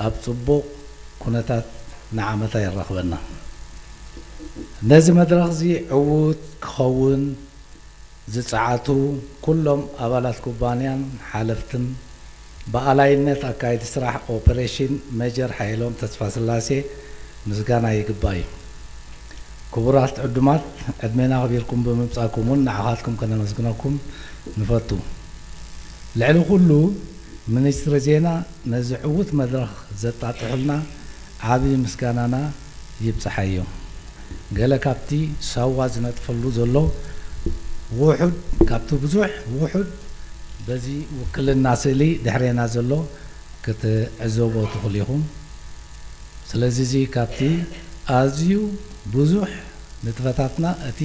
ኣብ ጽቡቕ ኩነታት ንዓመታ የራኽበና። ነዚ መድረኽ እዚ ዕዉት ክኸውን ዝጸዓቱ ኩሎም ኣባላት ኩባንያን ሓለፍትን፣ ብኣላይነት ኣካየድቲ ስራሕ ኦፐሬሽን ሜጀር ሓየሎም ተስፋስላሴ ምስጋና ይግባእ እዩ። ክቡራት ዕዱማት፣ ዕድሜና ኣኽቢርኩም ብምምጻእኩም እውን ንዓኻትኩም ከነመስግነኩም ንፈቱ። ልዕሊ ኩሉ፣ ሚኒስትሪ ዜና ነዚ ዕዉት መድረኽ ዘጣጥሑልና ዓቢ ምስጋናና ይብጽሓዮ። ገለ ካብቲ ሳዋ ዝነጥፈሉ ዘሎ ውሑድ፣ ካብቲ ብዙሕ ውሑድ በዚ ውክልና ስእሊ ድሕሬና ዘሎ ክትዕዘቦ ትኽእሉ ኢኹም። ስለዚ እዚ ካብቲ ኣዝዩ ብዙሕ ንጥፈታትና እቲ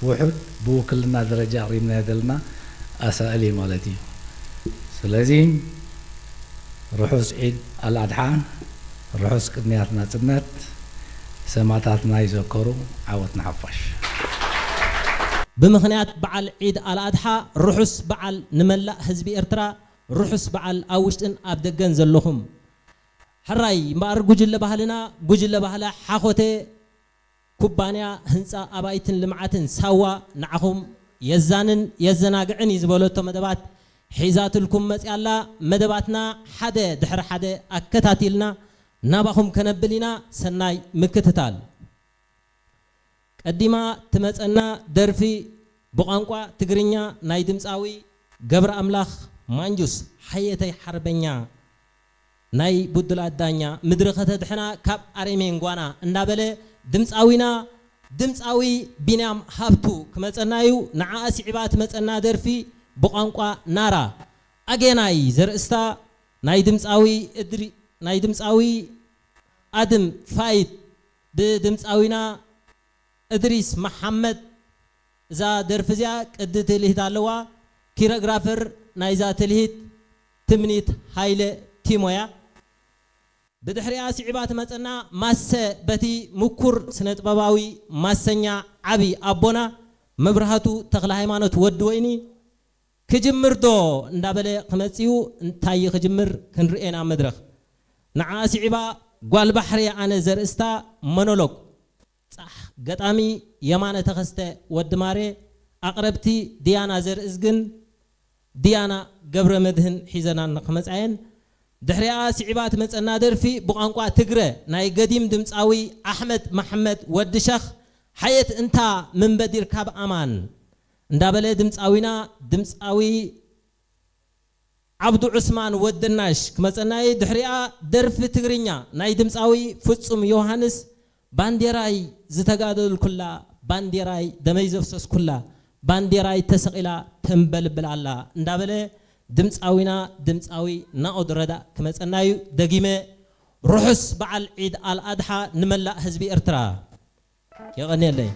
ውሑድ ብውክልና ደረጃ ኣቕሪብናዮ ዘለና ኣሳእል እዩ ማለት እዩ። ስለዚ ርሑስ ዒድ ኣልኣድሓ፣ ርሑስ ቅንያት ናጽነት፣ ሰማእታትና ይዘከሩ፣ ዓወት ንሓፋሽ። ብምኽንያት በዓል ዒድ ኣልኣድሓ ርሑስ በዓል ንመላእ ህዝቢ ኤርትራ፣ ርሑስ በዓል ኣብ ውሽጥን ኣብ ደገን ዘለኹም። ሕራይ እምበኣር ጉጅለ ባህልና፣ ጉጅለ ባህሊ ሓኾቴ ኩባንያ ህንጻ ኣባይትን ልምዓትን ሳዋ ንዓኹም የዛንን የዘናግዕን እዩ ዝበለቶ መደባት ሒዛትልኩም መጽያ ኣላ። መደባትና ሓደ ድሕሪ ሓደ ኣከታቲልና ናባኹም ከነብል ኢና። ሰናይ ምክትታል። ቀዲማ ትመጸና ደርፊ ብቋንቋ ትግርኛ ናይ ድምጻዊ ገብረ ኣምላኽ ማንጁስ ሓየተይ ሓርበኛ ናይ ቡድላት ዳኛ ምድሪ ከተድሕና ካብ ኣሬሜን ጓና እንዳበለ ድምጻዊና ድምጻዊ ቢንያም ሃብቱ ክመጸና እዩ። ንዓኣ ስዒባ ትመጸና ደርፊ ብቋንቋ ናራ ኣጌናይ ዘርእስታ ናይ ድምጻዊ እድሪ-፣ ናይ ድምጻዊ ኣድም ፋይድ ብድምጻዊና እድሪስ መሓመድ። እዛ ደርፊ እዚኣ ቅዲ ትልሂት ኣለዋ። ኪሮግራፈር ናይዛ ትልሂት ትምኒት ሃይለ ቲሞ እያ። ብድሕሪኣ ስዒባ ትመጸና ማሰ በቲ ምኩር ስነጥበባዊ ማሰኛ ዓቢ ኣቦና መብርሃቱ ተኽለ ሃይማኖት ወዲ ወይኒ ክጅምር ዶ እንዳበለ ክመጽኡ እንታይ ክጅምር ክንርእየና መድረኽ። ንዓ ስዒባ ጓል ባሕሪ ኣነ ዘርእስታ ሞኖሎግ ጻሕ ገጣሚ የማነ ተኸስተ ወዲ ማሬ፣ ኣቕረብቲ ዲያና ዘርእዝግን ዲያና ገብረ መድህን ሒዘናን ክመጻየን። ድሕሪኣ ስዒባ ትመጸና ደርፊ ብቋንቋ ትግረ ናይ ገዲም ድምጻዊ ኣሕመድ መሐመድ ወዲ ሸኽ ሓየት እንታ ምን በዲር ካብ ኣማን እንዳበለ ድምጻዊና ድምጻዊ ዓብዱ ዑስማን ወዲ ናሽ ክመጸና እዩ። ድሕሪኣ ደርፊ ትግርኛ ናይ ድምጻዊ ፍጹም ዮሃንስ ባንዴራይ ዝተጋደልኩላ፣ ባንዴራይ ደመይ ዘፍሰስኩላ፣ ባንዴራይ ተሰቒላ ተንበልብል ኣላ እንዳበለ ድምጻዊና ድምጻዊ ናኦድ ረዳእ ክመጸና እዩ። ደጊመ ርሑስ በዓል ዒድ ኣልኣድሓ ንመላእ ህዝቢ ኤርትራ። የቐንየለይ።